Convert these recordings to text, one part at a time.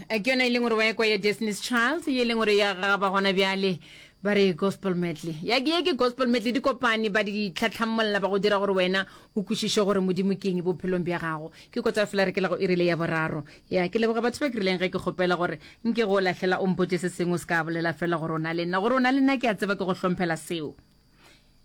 Ke yona e leng gore wa ekwa ya Destiny's Child ye e leng gore ya gagaba gona bjale ba re gospel medley ya ke ye ke gospel medley di kopane ba di tlhatlhammolla ba go dira gore wena o kwešiše gore modimo ke eng bophelong bja gago ke kotsa fela re ke la go irile ya boraro ya ke leboga batho ba ke rileng ge ke kgopela gore nke go lahlela o mpotse se sengwe o se ka bolela fela gore o na le nna gore o na le nna ke a tseba ke go hlomphela seo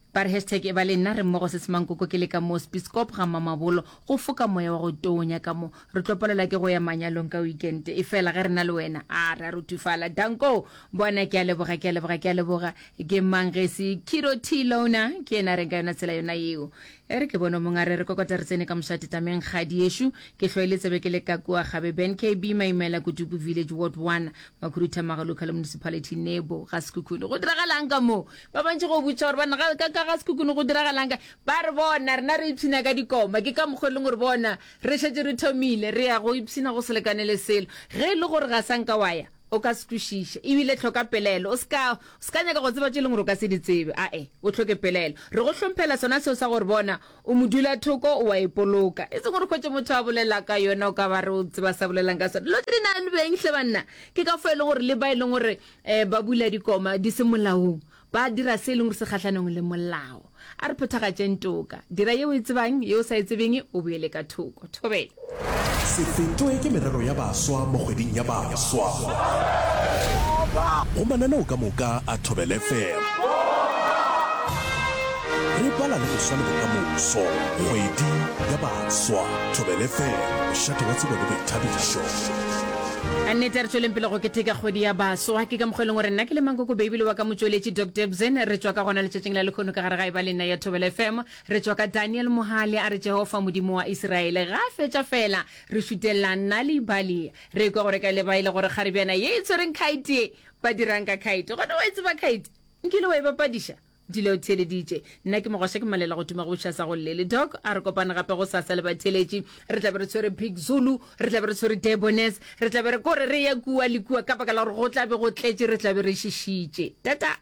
Ba re hashtag e ba le nna re mmogo se semankoko ke le ka mo Spiskop ga Mamabolo go foka moya wa go tonya ka mo re tlo palelwa ke go ya manyalong ka weekend e fela ge re na le wena a re a ruthufala danko bona ke a leboga ke a leboga ke a leboga ke mang ge se Kiro T Lona ke yena reng ka yona tsela yona yeo e re ke bone mong a re re kokota re tsene ka mošate tameng kgadi yešo ke hloile tsebe ke le ka kua gabe Ben KB Maimela Kutupu Village Ward 1 Makhuduthamaga Local Municipality Nebo ga Sekhukhune go diragalang ka mo Ba bantši go botša gore banna ga ka ka ga Sekhukhune go diragalang ka ba re bona rena re ipshina ka dikoma ke ka mokgwa e leng gore bona re šetše re thomile re ya go ipshina go se lekane le selo ge e le gore ga sa nka wa ya o ka se kwešiše ebile hloka pelaelo o se ka o se ka nyaka go tseba tše e leng gore o ka se di tsebe ae o hloke pelaelo re go hlomphela sona seo sa gore bona o modulathoko o a ipoloka e seng gore hwetše motho a bolela ka yona o ka ba re o tseba sa bolelang ka sona dilo tše di na le beng hle banna ke ka fo e leng gore le ba e leng gore E, ba bula dikoma di se molaong, ba dira se e leng gore se kgahlanong le molao. A re phethagatšeng toka. Dira ye o e tsebang, ye o sa e tsebeng o boele ka thoko. Thobela. Se fetwe ke merero ya baswa mo kgweding ya baswa go mananeo ka moka a Thobela FM. Re bala le boswa le bokamoso. Kgwedi ya baswa. Thobela FM, mošate wa tsebo le boithabišo. A nnete, a re tšweleng pele go keteka kgwedi ya baswa. Ke ka mokgwa e leng gore nna ke le Mankoko Baby le wa ka motšweletši Doc Debson re tšwa ka gona letšatšing la lekhono ka gare ga Eba le Nna ya Thobela FM. Re tšwa ka Daniel Mohale a re Jehofa Modimo wa Isiraele. Ga a fetša fela re šutelela Nal'ibali. Re ekwa gore ka leba e le gore kgarebjana ye e tshwereng khaete ye ba dirang ka khaete. Gona wa e tseba khaete? Nkile wa e bapadiša? Dula o theeleditše. Nna ke Mogwaša ke malela go tuma go buša sa go llele. Doc, a re kopane gape gosasa le batheeletši. Re tla be re tshwere Big Zulu, re tla be re tshwere Debonaires, re tla be re kore re ya kua le kua ka baka la gore go tla be go tletše, re tla be re šišitše. Tata!